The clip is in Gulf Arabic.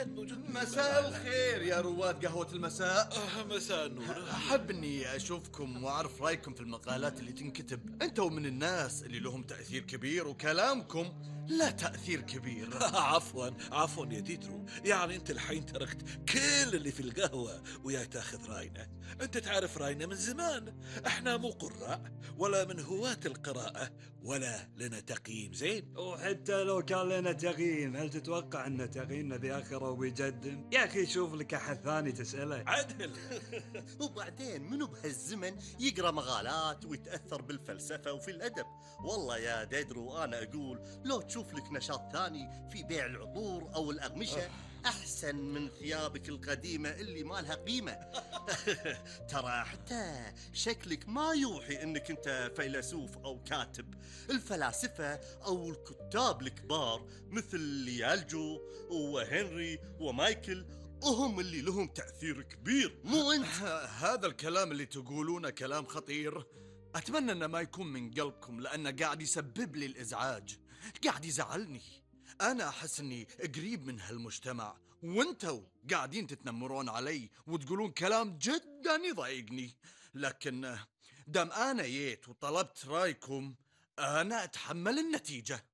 مساء الخير يا رواد قهوة المساء. مساء النور. أحب أني أشوفكم وأعرف رأيكم في المقالات اللي تنكتب. أنتوا من الناس اللي لهم تأثير كبير وكلامكم لا تأثير كبير. عفوا يا ديدرو، يعني انت الحين تركت كل اللي في القهوة ويا تاخذ راينا. انت تعرف راينا من زمان، احنا مو قراء ولا من هواة القراءة ولا لنا تقييم زين. وحتى لو كان لنا تقييم، هل تتوقع ان تقييمنا بآخره وبيقدم؟ يا اخي شوف لك احد ثاني تسأله. عدل. وبعدين منو بهالزمن يقرأ مقالات ويتأثر بالفلسفة وفي الأدب؟ والله يا ديدرو أنا أقول لو تشوف لك نشاط ثاني في بيع العطور أو الأقمشة أحسن من ثيابك القديمة اللي ما لها قيمة. ترى حتى شكلك ما يوحي أنك أنت فيلسوف أو كاتب. الفلاسفة أو الكتاب الكبار مثل ليالجو وهنري ومايكل وهم اللي لهم تأثير كبير، مو أنت. هذا الكلام اللي تقولونه كلام خطير. أتمنى أنه ما يكون من قلبكم، لأنه قاعد يسبب لي الإزعاج، قاعد يزعلني. أنا أحس أني قريب من هالمجتمع، وانتوا قاعدين تتنمرون علي وتقولون كلام جدا يضايقني. لكن دام أنا جيت وطلبت رأيكم، أنا أتحمل النتيجة.